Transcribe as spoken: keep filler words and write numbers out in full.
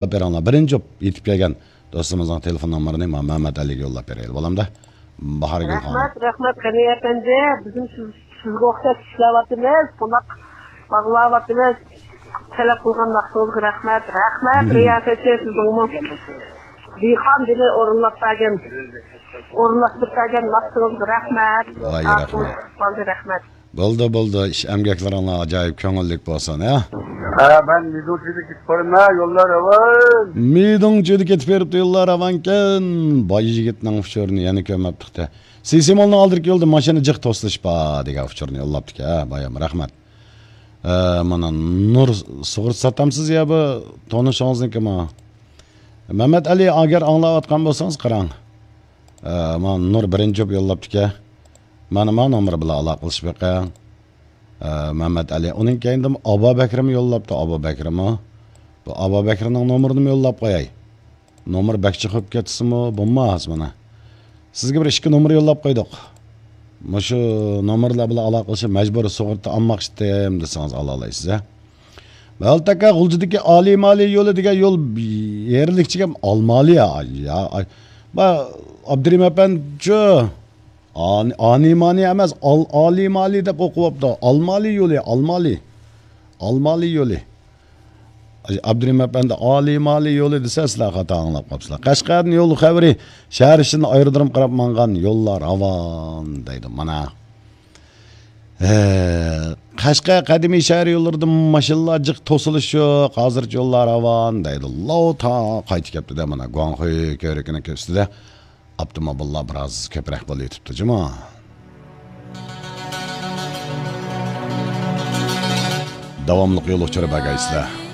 يوللاپ بېرىڭلار. بىرىنچى بولۇپ يېتىپ كەلگەن دوستىمىزنىڭ تېلېفون نومۇرىنى ما-، مەمەت ئەلىگە يوللاپ بېرەيلى، بولامدا؟ باھارگۈل خانىم. رەھمەت، رەھمەت، غېنى ئەپەندى. بىزمۇ سىز، سىزگە ئوخشاش ئىشلەۋاتىمىز، قوناق باغلاۋاتىمىز. تەلەپ قىلغان ۋاقتىڭىزغا رەھمەت. رەھمەت، رىياسەتچى، سىزنىڭمۇ دېھقان دىلى ئورۇنلاپ بەرگەن، ئورۇنلاشتۇرۇپ بەرگەن ۋاقتىڭىزغا رەھمەت. ۋاي، رەھمەت. رەھمەت. بولدى، بولدى. ئىش ئەمگەكلىرىڭلار ئاجايىپ كۆڭۈللۈك بولسۇن، ھە؟ ھە، مەن مىدۇڭچىدا كېتىپ بارىمەن، يوللار راۋان. مىدۇڭچىدا كېتىپ بېرىپتۇ، يوللار راۋانكەن. باي يىگىتنىڭ ئۇچۇرىنى يەنە كۆرمەپتۇق-تە. سىسىمولنىڭ ئالدىدىكى يولدا ماشىنا جىق توسۇلۇش بار دېگەن ئۇچۇرنى يوللاپتىكەن، ھە، بايام رەھمەت. ئە، مانا نۇر سۇغۇرتا ساتامسىز يا بۇ تونۇشىڭىزنىڭكىمۇ؟ مەمەت ئەلى، ئەگەر ئاڭلاۋاتقان بولسىڭىز قاراڭ. ئە، مانا نۇر بىرىنچى بولۇپ يوللاپتىكەن. مانا ما نومۇر بىلەن ئالاقىلىشىپ بېقىڭ. ئە، مەمەت ئەلى. ئۇنىڭ كەينىدىن ئابابەكرىمۇ يوللاپتۇ، ئابابەكرىمۇ. بۇ ئابابەكرىنىڭ نومۇرىنىمۇ يوللاپ قوياي. نومۇر بەك چىقىپ كەتسىمۇ بولماس مانا. سىزگە بىر ئىككى نومۇر يوللاپ قويدۇق. مۇشۇ نومۇرلار بىلەن ئالاقىلىشىپ مەجبۇرىي سۇغۇرتا ئالماقچىدىم دېسىڭىز ئالالايسىز، ھە. مەلتەكە غۇلجىدىكى ئالىي مالىي يولى دېگەن يول يەرلىكچىگە ئالمالى يا، يا، ئاي. با، ئابدۇرېھىم ئەپەندىچۇ؟ ئانى-، ئانىمانى ئەمەس، ئال-، ئالىمالى دەپ ئوقۇۋاپتۇ. ئالمالى يولى، ئالمالى. ئالمالى يولى. ئابدۇرېھىم ئەپەندى، ئالىمالى يولى دېسە، سىلەر خاتا ئاڭلاپ قاپسىلەر. قەشقەردىن يول خەۋىرى، شەھەر ئىچىدىن ئايرودروم قاراپ ماڭغان يوللار راۋان دەيدۇ. مانا. ھە، قەشقەر قەدىمىي شەھەر يوللىرىدا ماشىنىلار جىق توسۇلۇش يوق. ھازىرچە يوللار راۋان دەيدۇ. لاۋ تا قايتىپ كەپتۇ-دە، مانا، گۇاڭخۇي كۆۋرۈكىنىڭ ئۈستىدە. ئاپتوموبىللار بىراز كۆپرەك بولۇۋېتىپتۇ جۇمۇ. داۋاملىق يول ئۇچۇرى بەرگەيسىلەر.